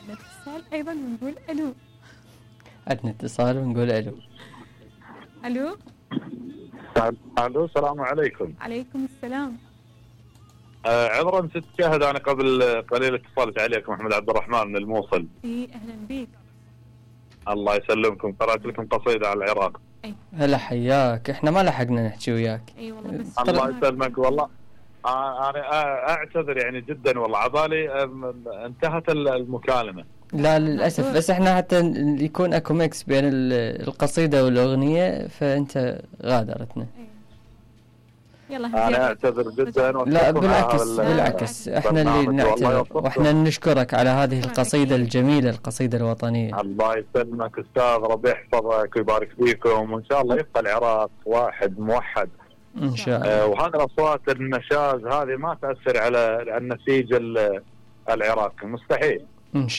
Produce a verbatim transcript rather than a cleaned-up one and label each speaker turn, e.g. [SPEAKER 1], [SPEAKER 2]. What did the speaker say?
[SPEAKER 1] عندنا اتصال ايضا ونقول الو.
[SPEAKER 2] عندنا اتصال ونقول الو.
[SPEAKER 1] الو.
[SPEAKER 3] الو السلام عليكم.
[SPEAKER 1] عليكم السلام.
[SPEAKER 3] آه عذرا ست شاهد، انا قبل قليل اتصلت عليك محمد عبد الرحمن من الموصل.
[SPEAKER 1] اي اهلا بيك.
[SPEAKER 3] الله يسلمكم، قرأت لكم قصيدة على العراق.
[SPEAKER 1] اي
[SPEAKER 2] هلا حياك، احنا ما لحقنا نحكي وياك.
[SPEAKER 1] اي والله بس
[SPEAKER 3] الله يسلمك والله. آه انا اعتذر يعني جدا والله، عبالي انتهت المكالمة.
[SPEAKER 2] لا للأسف، بس احنا حتى يكون اكو ميكس بين القصيدة والأغنية فانت غادرتنا.
[SPEAKER 1] يلا
[SPEAKER 3] انا اعتذر جدا.
[SPEAKER 2] لا بالعكس بالعكس، احنا اللي نعتذر واحنا نشكرك على هذه القصيدة الجميلة، القصيدة الوطنية.
[SPEAKER 3] الله يسلمك استاذ، ربي يحفظك ويبارك فيكم، وان شاء الله يبقى العراق واحد موحد
[SPEAKER 2] ان شاء الله.
[SPEAKER 3] آه وهذه الاصوات النشاز هذه ما تاثر على النسيج العراقي، مستحيل
[SPEAKER 2] ان شاء الله.